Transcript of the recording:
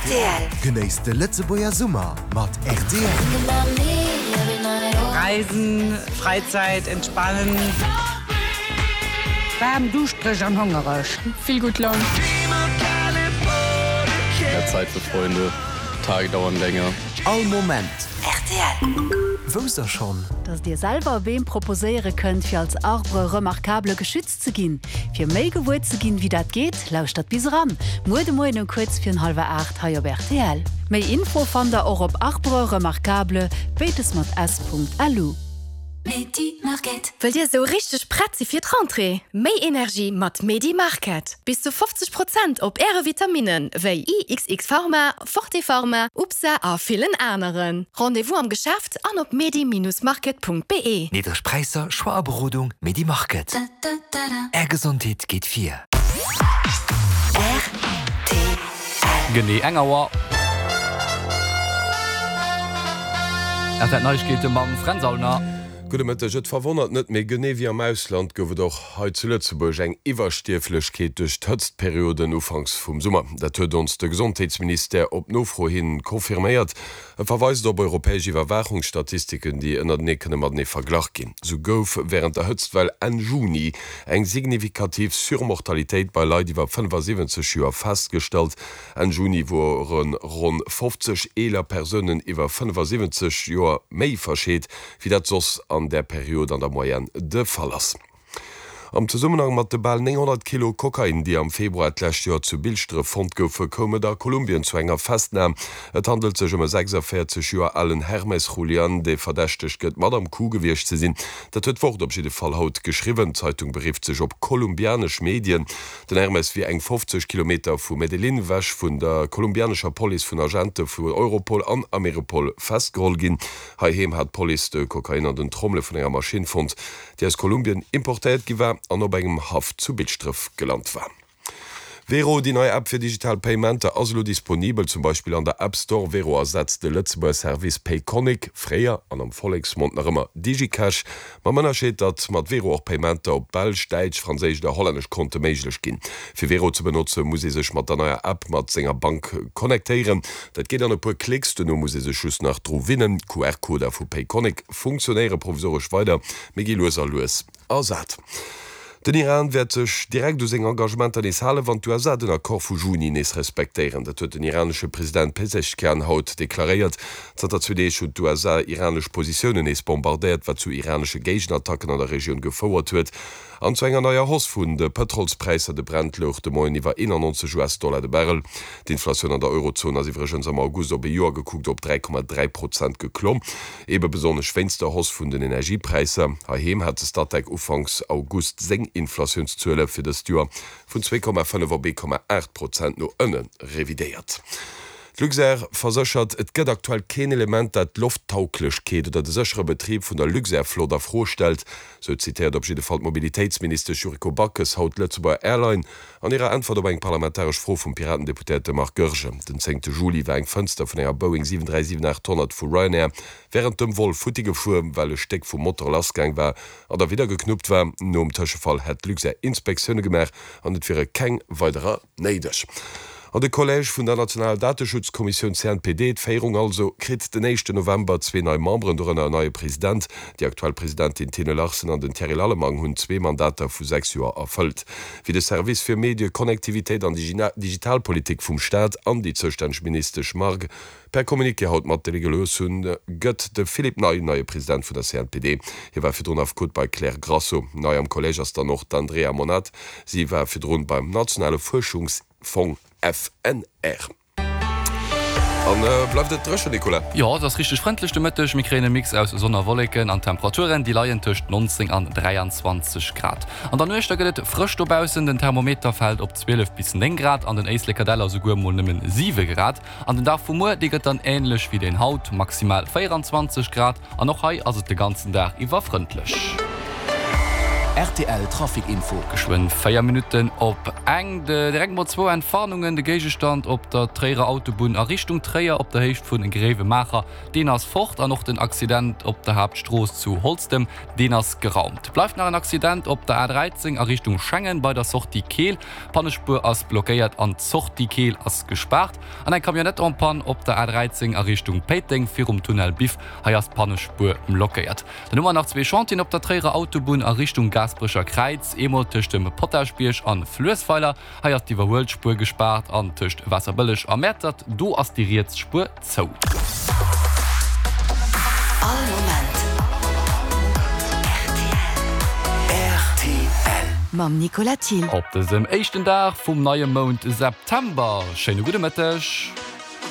Rtl. Genéisst de Lëtzebuerger Summer mat rtl. Reisen, Freizeit, entspannen. Waarm, duuschtereg an hongereg. Vill gutt Laun. Mehr Zeit für Freunde, Tage dauern länger. All Moment. Rtl. Wousst der schonn? Dass dir selwer Beem proposéiere kënnt fir als Arbre remarquable geschützt ze ginn? Fir méi gewuer ze ginn wéi dat geet, lauschtert bis eran muer de Moien um kuerz virun hallwer 8 hei op rtl. Méi Info fannt der och op arbreremarquable, béides mat s.lu. Wëllt Dir esou richteg prett si fir d'Rentrée? Méi Energie mat Medi Market! Bis zu 50 Prozent op Äre Vitaminnen wéi IXX Pharma, Forte Pharma, UPSA a villen aneren. Rendez-vous am Geschäft an op medi-market.be. Niddreg Präisser, Choix a Berodung, Medi Market. Är Gesondheet geet vir. Rtl. Genee eng Auer. RTL Neiegkeete mam Fränz Aulner. Gudde Mëtteg. Et verwonnert net, mee genee wéi am Ausland gouf et och hei zu Lëtzebuerg eng Iwwerstierflechkeet duerch d'Hëtztperioden ufanks vum Summer. Dat huet ons de Gesondheetsministère op Nofro hin confirméiert. E verweist op europäesch Iwwerwaachungsstatistiken, déi ënnertenee kënne matenee verglach ginn. Sou gouf wärend der Hëtztwell Enn Juni eng signifikativ Surmortalitéit bei Leit iwwer 75 Joer festgestallt. Enn Juni wore ronn 50 eeler Persounen iwwer 75 Joer méi verscheet, wéi dat soss an där Period an der Moyenne de Fall ass. Am Zesummenhang mat de bal 900 Kilo Kokain, déi am Februar d'lescht Joer zu Bilschdref fonnt goufe, koum et a Kolumbien zu enger Festnam. Et handelt sech ëm e 46 Joer alen Hermes Julian, dee verdächtegt gëtt, mat am Coup gewiescht ze sinn. Dat huet d'Wort op jidde Fall haut geschriwwen. D'Zeitung berifft sech op kolumbianesch Medien. Den Hermes wier eng 50 Kilometer vu Medellin ewech vun der kolumbianescher Police vun Agente vu Europol an Ameripol festgeholl ginn. Heiheem hat d'Police de Kokain an den Trommele vun enger Maschinn fonnt, déi aus Kolumbien importéiert gi war an op engem Haff zu Bilschdref gelant war. Wero, déi nei App fir digital Paymenter, ass elo disponibel, zum Beispill an der App Store. Wero ersetzt de Lëtzebuerger Service Payconiq, fréier an am Volleksmond nach ëmmer Digicash, Mam Ënnerscheed, datt mat Wero och Paymenter op belsch, däitsch, franséisch oder hollännesch Konte méiglech ginn. Fir Wero ze benotze muss ee sech mat der neier App mat senger Bank connectéieren. Dat geet an e puer Klicks, duerno muss ee sech just nach dru winnen. D'QR-Coder vu Payconiq funktionéiere provisoresch weider, mee gi lues a lues ersat. Den Iran wäert sech direkt u seng Engagementer nees halen, wann d'USA den Accord vu Juni nees respektéieren. Dat huet den iranesche President Pezeshkian haut deklaréiert. Zanter zwee Deeg hunn d'USA iranesch Positiounen nees bombardéiert, wat zu iranesche Géigenattacken an der Regioun gefouert huet an zu enger neier Hausse vun de Pëtrolspräisser. De Brent louch de Moien iwwer 91 US-Dollar de Barrel. D'Inflatioun an der Eurozon ass iwwregens am August op e Joer gekuckt op 3,3 Prozent geklomm. Ebe besonnesch wéinst der Hausse vun den Energiepräisser. Heiheem hat de Statec ufanks August seng Inflatiounszuele fir dëst Joer vun 2,5 op 1,8 Prozent no ënne revidéiert. D'Luxair verséchert, et gëtt aktuell keen Element, dat d'Lofttauglechkeet oder de séchere Betrib vun der Luxair-Flott a Fro stellt. Sou zitéiert op jidde Fall d'Mobilitéitsministesch Yuriko Backes haut d'Lëtzebuerger Airline An hirer Äntwert op eng parlamentaresch Fro vum Piraten-Deputéierte Marc Goergen den 10 Juli war eng Fënster vun enger Boeing 737-800 vu Ryanair wärend dem Vol futti gefuer, well e Stéck vum Motor lassgaang war an da widder geknuppt war. Nom Tëschefall hätt d'Luxair Inspektioune gemaach an et wiere keng weiderer néideg. An de Collège vun der nationaler Dateschutzkommissioun CNPD, d'Féierung also, kritt den éischten November zwee nei Memberen, dorënner en neie President. Déi aktuell Presidentin Tine Larsen an den Thierry Lallemang hunn zwee Mandater vu 6 Joer erfëllt. Wéi de Service fir Medie, Connectivitéit an Digitalpolitik vum Staat an déi zoustänneg Ministesch Margue per Communiqué haut matdeele gelooss hunn, gëtt de Philippe Ney neie President vun der CNPD. Hie war virdrun Affekot bei Claire Grasso. Nei am Collège ass dann och d'Andrea Monat. Si war virdrun beim nationale Fuerschungsfong FNR. An bleift et dréchen, Nicolas? Jo, et ass richteg frëndlech de Mëtteg. Mir kréien e Mix aus Sonn a Wolleken an d'Temperaturen, déi leien tëscht 19 an 23 Grad. An der Nuecht da gëtt et frësch dobaussen, den Thermometer fält op 12 bis 9 Grad, an den Éislekerdeller souguer mol nëmmen 7 Grad. An den Dag vu muer, dee gëtt dann änlech wéi deen haut, maximal 24 Grad an och hei ass et de ganzen Dag iwwer frëndlech. Rtl Trafic Info. Geschwënn 4 Minutten op eng. Direkt mol zwou Entwarnungen, De Géigestand op der Tréierer Autobunn a Richtung Tréier op der Héicht vun Gréiwemaacher, deen ass fort an och den Accident op der Haaptstrooss zu Holztem, deen ass geraumt. Bleift nach en Accident op der A13 a Richtung Schengen bei der Sortie Keel. D'Pannespuer ass blockéiert an d'Sortie Keel ass gespaart. An eng Camionnette en panne op der A13 a Richtung Péiteng virum Tunnel Biff. Hei ass d'Pannespuer blockéiert. Dann hu mer nach zwee Chantieren op der Tréierer Autobunn a Richtung Gaasperecher Kräiz, eemol tëscht dem Potaschbierg an Fluessweiler, hei ass d'Iwwerhuelspuer gespaart, an tëscht Waasserbëlleg a Mäertert, do ass déi riets Spuer zou. All Moment rtl. Mam Nicolas Thill. Op dësem éischten Dag vum neie Mount September, schéine gudde Mëtteg.